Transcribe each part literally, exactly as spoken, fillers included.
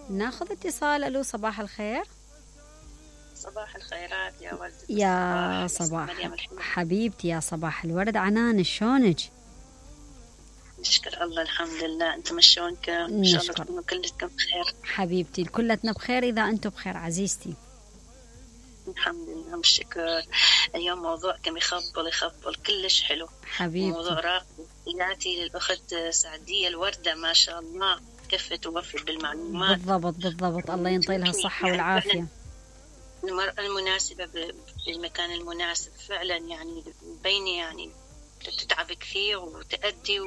ناخذ اتصال. الو صباح الخير. صباح الخيرات يا ولد يا صباح حبيبتي، يا صباح الورد. عنان شلونك؟ نشكر الله الحمد لله. انتم شلونكم؟ ان شاء الله تكونوا كلكم بخير حبيبتي. كلتنا بخير اذا انتم بخير عزيزتي. الحمد لله والشكر. اليوم موضوعكم يخبل يخبل كلش حلو حبيبتي. موضوع راقي ياتي للاخت سعدية الوردة، ما شاء الله كفت ووفت بالمعلومات. بالضبط بالضبط، الله ينطي لها الصحة يعني والعافية. المرأة المناسبة بالمكان المناسب فعلا، يعني بيني يعني تتعب كثير وتأدي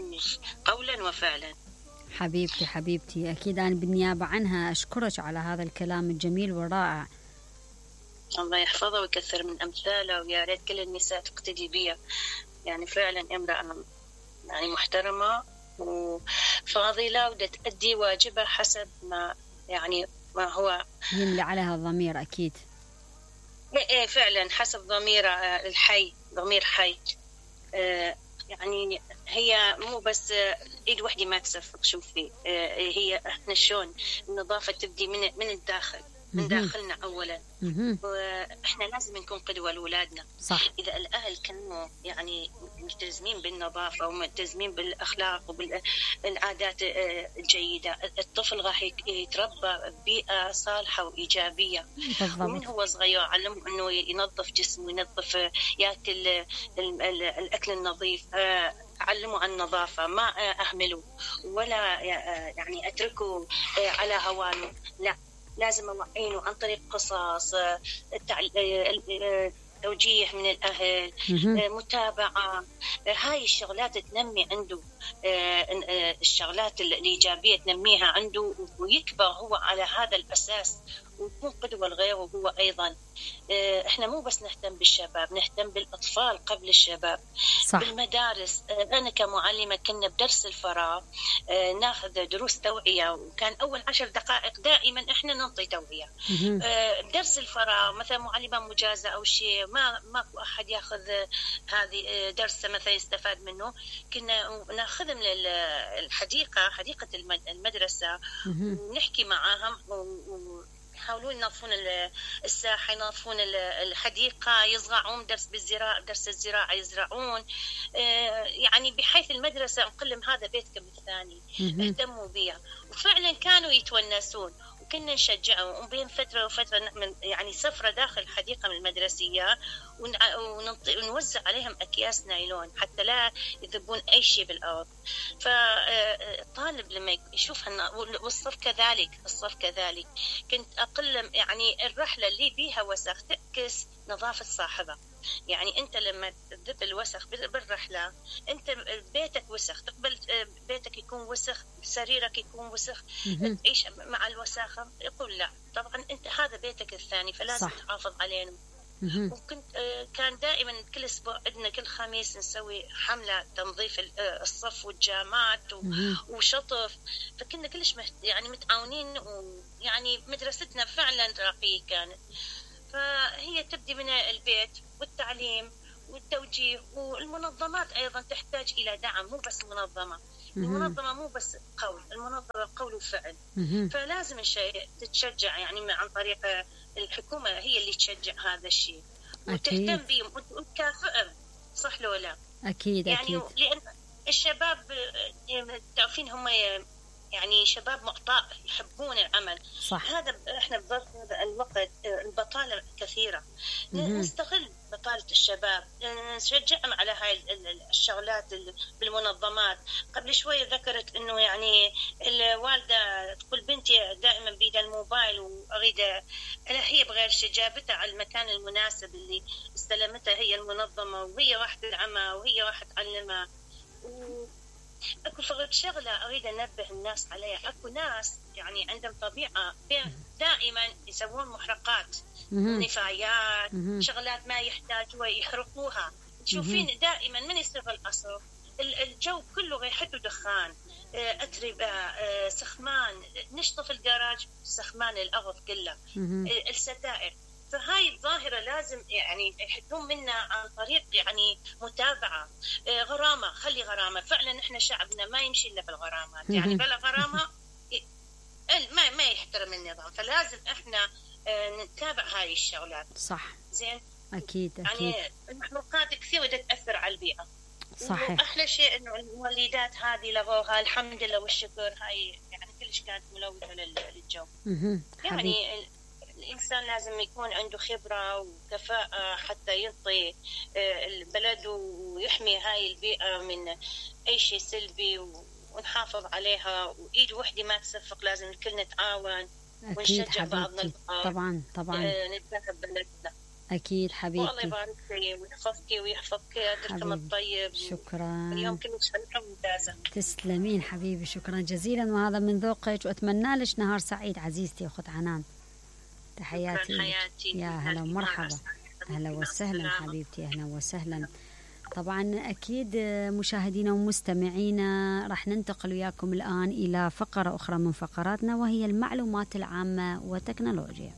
قولا وفعلا. حبيبتي حبيبتي، أكيد أنا بالنيابة عنها أشكرك على هذا الكلام الجميل والرائع. الله يحفظها ويكثر من أمثاله، ويا ريت كل النساء تقتدي بها. يعني فعلا امرأة يعني محترمة وفاضلة ودا تأدي واجبها حسب ما يعني ما هو يملي عليها الضمير. أكيد ايه فعلا حسب ضمير الحي، ضمير حي. آه يعني هي مو بس ايد وحده ما تصفق. شوفي آه هي احنا شلون النظافه تبدي من من الداخل، من داخلنا اولا. واحنا لازم نكون قدوه لاولادنا. صح. اذا الاهل كانوا يعني ملتزمين بالنظافه وملتزمين بالاخلاق وبالعادات الجيده، الطفل راح يتربى ببيئه صالحه وايجابيه. بالضبط. ومن هو صغير علمه انه ينظف جسمه، ينظف، ياكل الاكل النظيف، علموا عن النظافة، ما أهمله ولا يعني أتركه على هوانه. لا، لازم أوعينه عن طريق قصص، توجيه من الأهل، متابعة. هاي الشغلات تنمي عنده الشغلات الإيجابية، تنميها عنده ويكبر هو على هذا الأساس ويكون قدوة لغيره هو أيضا. إحنا مو بس نهتم بالشباب، نهتم بالأطفال قبل الشباب. صح. بالمدارس أنا كمعلمة كنا بدرس الفراغ ناخذ دروس توعية، وكان أول عشر دقائق دائما إحنا ننطي توعية. بدرس الفراغ مثلا معلمة مجازة أو شيء، ما ماكو أحد ياخذ هذه درس مثلا يستفاد منه، كنا ناخذهم للحديقة، حديقة المدرسة، ونحكي معاهم و يحاولون ينظفون الساحة، ينظفون الحديقة، يزرعون درس بالزراعة، درس الزراعة يزرعون. يعني بحيث المدرسة نقول لهم هذا بيتكم الثاني، اهتموا بيها. وفعلا كانوا يتونسون وكنا نشجعهم. وبين فترة وفترة نعمل يعني سفرة داخل الحديقة من المدرسية ونوزع عليهم أكياس نايلون حتى لا يذبون أي شيء بالأرض. فالطالب لما يشوف والصف كذلك، الصف كذلك كنت أقل يعني الرحلة اللي بيها وسخ تعكس نظافة صاحبها. يعني أنت لما تذب الوسخ بالرحلة، أنت بيتك وسخ، تقبل بيتك يكون وسخ، سريرك يكون وسخ، تعيش مع الوساخة. يقول لا، طبعا أنت هذا بيتك الثاني، فلازم صح. تحافظ علينا. وكنت كان دائما كل اسبوع عندنا كل خميس نسوي حمله تنظيف الصف والجامات وشطف. فكنا كلش يعني متعاونين، ويعني مدرستنا فعلا راقيه كانت. فهي تبدي من البيت والتعليم والتوجيه، والمنظمات ايضا تحتاج الى دعم، مو بس منظمه. المنظمه مو بس قول، المنظمه قول وفعل. فلازم الشيء تتشجع يعني عن طريق الحكومة، هي اللي تشجع هذا الشيء وتهتم بهم وتكافئهم. صح لو لا؟ أكيد يعني أكيد. لأن الشباب تعرفين هم يعني شباب معطاء، يحبون العمل. صح. هذا احنا بظرف هذا الوقت البطالة كثيرة، نستغل بطالة الشباب، نشجعهم على هاي الشغلات بالمنظمات. قبل شوية ذكرت انه يعني الوالدة تقول بنتي دائما بيدها الموبايل واريد، هي بغير جابتها على المكان المناسب اللي استلمتها هي المنظمة، وهي راح تدعمها وهي راح تعلمها. و اكو فقط شغله اريد انبه الناس عليها. اكو ناس يعني عندهم طبيعه دائما يسوون محرقات، نفايات، شغلات ما يحتاجوها يحرقوها. تشوفين دائما من يصير العصر الجو كله ريحته دخان، اتربه، سخمان، نشطف الجراج سخمان الارض كله، الستائر. فهاي الظاهرة لازم يعني يحدون منا عن طريق يعني متابعة. غرامة، خلي غرامة. فعلا احنا شعبنا ما يمشي إلا بالغرامات، يعني بلا غرامة النظام، فلازم احنا نتابع هاي الشغلات. صح. زين. اكيد اكيد. يعني المخلوقات كثير بدها تاثر على البيئه. صحيح. واحلى شيء انه المولدات هذه لغوها الحمد لله والشكر، هاي يعني كلش كانت ملوثه للجو. يعني الإنسان لازم يكون عنده خبرة وكفاءة حتى ينطي البلد ويحمي هاي البيئة من أي شيء سلبي ونحافظ عليها، وإيد وحدة ما تصفق، لازم الكل نتعاون ونشجع بعضنا البعض. طبعا طبعا نتذكر بلدنا. أكيد حبيبتي. والله يبارك فيك ويحفظك ويحفظ كادركم الطيب. شكرا. اليوم كلش حلقة ممتازة. تسلمين حبيبي، شكرا جزيلا، وهذا من ذوقك، وأتمنى لك نهار سعيد عزيزتي أخت عنان. تحياتي حياتي. يا هلا ومرحبا. أهلا وسهلا حبيبتي، أهلا وسهلا. طبعا أكيد مشاهدينا ومستمعينا راح ننتقل وياكم الآن إلى فقرة أخرى من فقراتنا، وهي المعلومات العامة وتكنولوجيا.